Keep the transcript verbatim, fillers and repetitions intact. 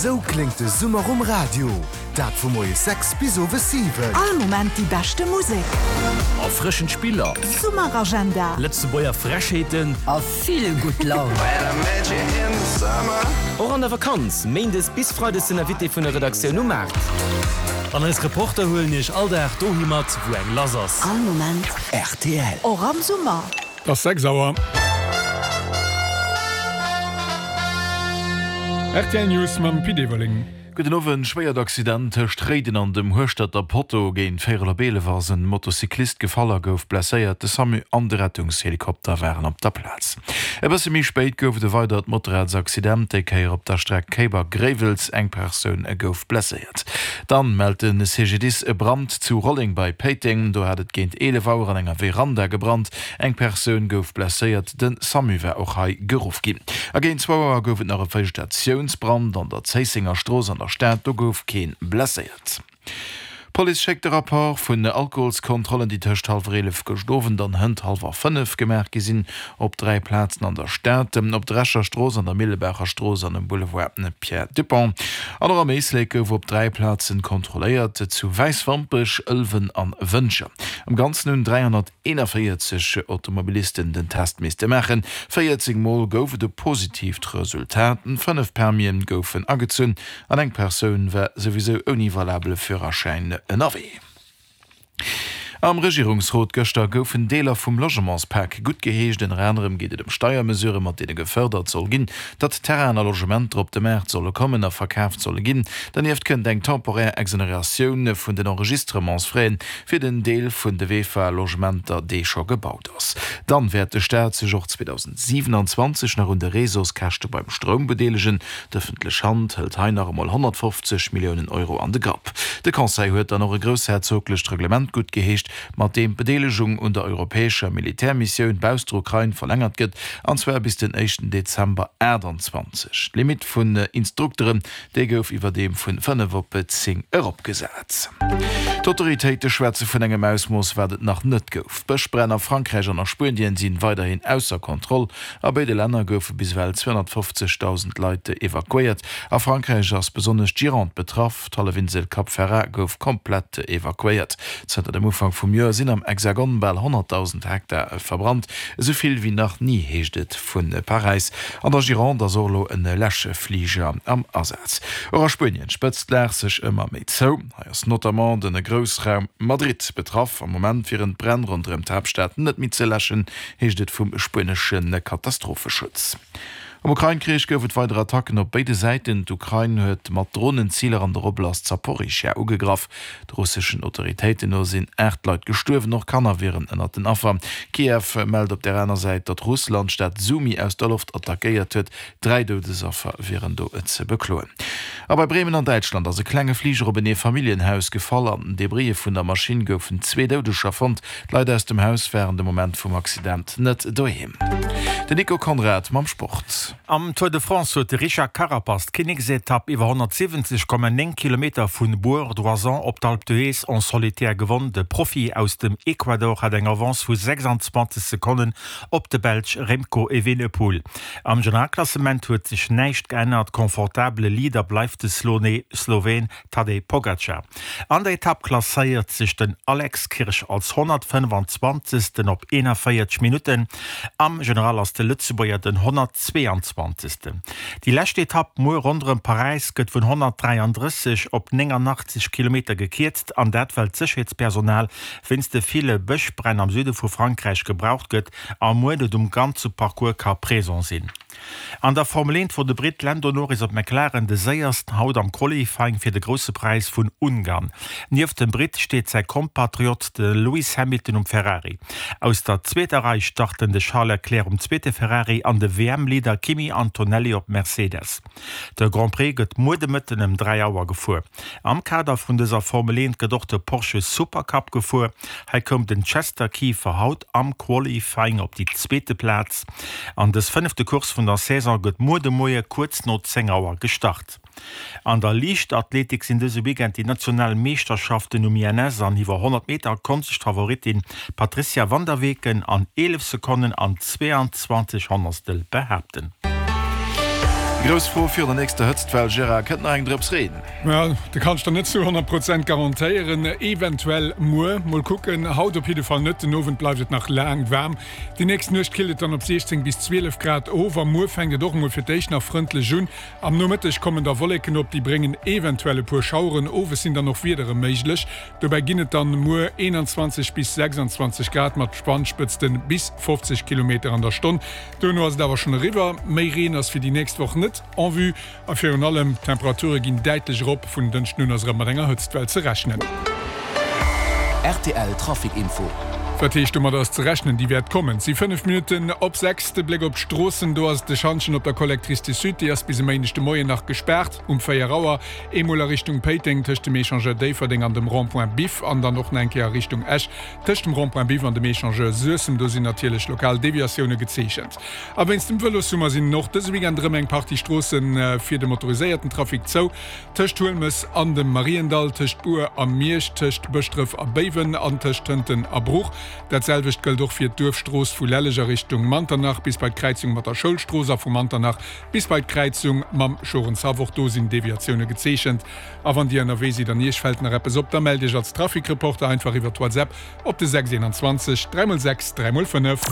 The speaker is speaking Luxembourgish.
Esou kléngt de Summer um Radio, dat vu moies sechs bis owes siwen. All Moment déi beschte Musek. Erfrëschend Spiller. Summeragenda. Lëtzebuerger Frechheeten. A vill gutt Laun. Och an der Vakanz, méindes bis freides den Invité vun der Redaktioun um Maart. An eis Reporter huelen iech all Dag dohi mat, wou eng lass ass. All Moment R T L. Och am Summer. Et ass sechs Auer. R T L News mam Pit Everling. Gudden Owend. Schwéiert Accident tëscht Réiden an dem Hueschterter Potto. Géint véierel op eelef ass en Motocyclist gefall a gouf blesséiert. De SAMU an de Rettungshelikopter waren op der Plaz. E bësse méi spéit gouf et e weidert Motorradsaccident, déi Kéier op der Streck Kéiber-Gréiwels. Eng Persoun gouf blesséiert. Dann mellt de C G D I S e Brand zu Rolleng bei Péiteng. Do hat et géint eelef Auer an enger Veranda gebrannt. Eng Persoun gouf blesséiert. De SAMU war och hei geruff ginn. A géint zwou Auer gouf et nach e Vegetatiounsbrand an der Zéissenger Strooss an der Stad. Do gouf kee blesséiert. D'Police schéckt de Rapport vun Alkoholskontrollen, déi tëscht hallwer eelef gëscht Owend an hënt hallwer fënnef gemaach gi sinn, op dräi Plazen an der Stad, op der Escher Strooss, an der Millebaacher Strooss an um Boulevard Pierre Dupong. An och am Éislek gouf op dräi Plazen kontrolléiert, zu Wäiswampech, Ëlwen an Wëntger. Am Ganzen hunn dräihonnerteenanvéierzeg Automobilisten den Test misste maachen. véierzéng Mol gouf et e positiivt Resultat, fënnef Permisen goufen agezunn an eng Persoun war souwisou ouni valabele Führerschäin ënnerwee. Am Regierungsrot gëschter goufen Deeler vum Logementspak guttgeheescht. Ënner anerem geet et ëm Steiermesurë mat deene gefërdert soll ginn, datt Terrainen a Logementer op de Maart solle kommen a verkaaft solle ginn. Dernieft kënnt eng temporär Exoneratioun vun den Enregistrementsfraisen fir den Deel vun de V E F A-Logementer, dee scho gebaut ass. Dann wäert de Staat sech och zweedausendsiwenanzwanzeg nach un de Réseauskäschte beim Stroum bedeelegen. D'ëffentlech Hand hëlt hei nach emol honnertfofzeg Milliounen Euro an de Grapp. De Conseil huet dann och e groussherzoglecht Reglement guttgeheescht, mat deem d'Bedeelegung un der europäescher Militärmissioun bausst der Ukrain verlängert gëtt, an zwar bis den éischten Dezember aachtanzwanzeg. D'Limitt vun Instrukteren, déi gouf iwwerdeem vun fënnef op zéng eropgesat. D'Autoritéite schwätze vun engem Ausmooss, wat et nach net gouf. D'Bëschbränn a Frankräich an a Spuenien si weiderhin ausser Kontroll. A béide Länner goufe bis ewell zweehonnertfofzegdausend Leit evakuéiert. A Frankräich ass besonnesch d'Gironde betraff. D'Hallefinsel Cap Ferrat gouf komplett evakuéiert. Zënter dem Ufank vum Joer sinn am Hexagon bal honnertdausend Hektar verbrannt, esou vill wéi nach ni, heescht et vu Paräis. An der Gironde ass och elo e Läschfliger am Asaz. Och a Spuenien spëtzt d'Lag sech ëmmer méi zou. Hei ass notamment de Groussraum Madrid betraff. Am Moment wieren d'Bränn ronderëm d'Haaptstad net méi ze läschen, heescht et vum spuenesche Katastropheschutz. Am Ukrain-Krich gouf et weider Attacken op béide Säiten. D'Ukrain huet mat Dronen Ziler an der Oblast Saporischschja ugegraff. De russeschen Autoritéiten no sinn aacht Leit gestuerwen, och Kanner wieren ënnert den Affer. Kiew mellt op der aner Säit, datt Russland d'Stad Sumy aus der Loft attackéiert huet. Dräi Doudesaffer wieren do ze bekloen. A bei Bremen an Däitschland ass e klenge Fliger op en Eefamilljenhaus gefall. An den Debrisse vun der Maschinn goufen zwee Doudeger fonnt. D'Leit aus dem Haus waren de Moment vum Accident net doheem. Den Nico Conrad mam Sport. Am Tour de France huet de Richard Carapaz d'Kinneksetapp iwwer honnertsiwwenzeg Komma néng Kilometer vu Bourg d'Oisans op d'Alpe d'Huez en solitaire gewonn. De Profi aus dem Ecuador hat eng Avance vu sechsanzwanzeg Sekonnen op de Belsch Remco Evenepoel. Am Generalklassement huet sech näischt geännert, confortabele Leader bleift de Sloween Tadej Pogacar. An der Etapp klasséiert sech den Alex Kirsch als honnertfënnefenzwanzegsten op eenanvéierzeg Minutten. Am General ass de Lëtzebuerger den honnertzweeanzwanzegsten. Déi lescht Etapp muer ronderëm Paräis gëtt vun honnertdräiandrësseg op néngannachtzeg Kilometer gekierzt, an dat well d'Sécherheetspersonal wéinst de ville Bëschbränn am Süde vu Frankräich gebraucht gëtt a muer net um ganze Parcours ka present sinn. An der Formel eent wor de Britt Lando Norris op McLaren de séiersten haut am Qualifying fir de Grousse Präis vun Ungarn. Nieft dem Britt steet säi Kompatriot de Lewis Hamilton um Ferrari. Aus der zweeter Rei starten de Charles Leclerc um zweete Ferrari an de W M-Leader Kimi Antonelli op Mercedes. De Grand Prix gëtt muer de Mëtten ëm dräi Auer gefuer. Am Kader vun dëser Formel eent gëtt och de Porsche Supercup gefuer. Hei koum den Chester Kieffer haut am Qualifying op déi zweete Plaz. An dës fënnefte Course vun der Saison gëtt muer de Moie kuerz no zéng Auer gestart. An der Liichtathletik sinn dëse Weekend déi national Meeschterschaften um I N S. An iwwer honnert Meter konnt sech d'Favoritin Patricia Van der Weken an eelef Sekonnen an zweeanzwanzeg Honnertstel behaapten. Grouss Fro virun der nächster Hëtztwell, Gérard, Kënnt nach eng Drëps Reen? Ja, dat kann ech der net zu honnert Prozent garantéieren. Eventuell muer. Mol kucken. Haut op jidde Fall net. Den Owend bleift et nach laang waarm. Déi nächst Nuecht killt et dann op siechzéng bis zwielef Grad of a muer fänkt et och emol fir d'éischt nach frëndlech un. Am Nomëtteg kommen da Wolleken op, déi bréngen eventuell e puer Schaueren. Owes sinn dann och Wiedere méiglech. Dobäi ginn et dann muer eenanzwanzeg bis sechsanzwanzeg Grad mat Wandspëtzte bis fofzeg Kilometer an der Stonn. Duerno ass et awer schonn eriwwer. Méi Reen ass fir déi nächst Woch net en vue a virun allem d'Temperature ginn däitlech erop. Vun Dënschden un ass erëm mat enger Hëtztwell ze rechnen. Rtl Trafic Info. Wat heescht, domat ass ze rechnen? Déi wäert kommen. Et si fënnef Minutten op sechs. De Bléck op d'Stroossen, do ass et de Schantjen op der Collectrice du Sud, déi ass bis e Méindeg de Moien nach gespaart um véier Auer. Eemol a Richtung Péiteng tëscht dem Echangeur Déifferdeng an dem Rond-point Biff an dann och nach eng Kéier a Richtung Esch tëscht dem Rond-point Biff an dem Echangeur Suessem. Do sinn natierlech lokal Deviatioune gezeechent. A wéinst dem Vëlossummer sinn och dëse Weekend erëm eng Partie Stroosse fir de motoriséierten Trafic zou, tëscht Huelmes an dem Mariendall, tëscht Bur a Miersch, tëscht Bëschdref a Béiwen an tëscht Tënten a Bruch. Dat selwecht gëllt och fir d'Duerfstrooss vu Lelleg a Richtung Manternach bis bei d'Kräizung mat der Schoulstrooss a vu Manternach bis bei d'Kräizung mam Schorenshaff. Och do sinn Deviatioune gezeechent. A wann Dir ënnerwee sidd an Iech fält nach eppes op, da mellt Iech als Traficreporter einfach iwwer WhatsApp op de sechs eenanzwanzeg dräi mol sechs dräi mol fënnef.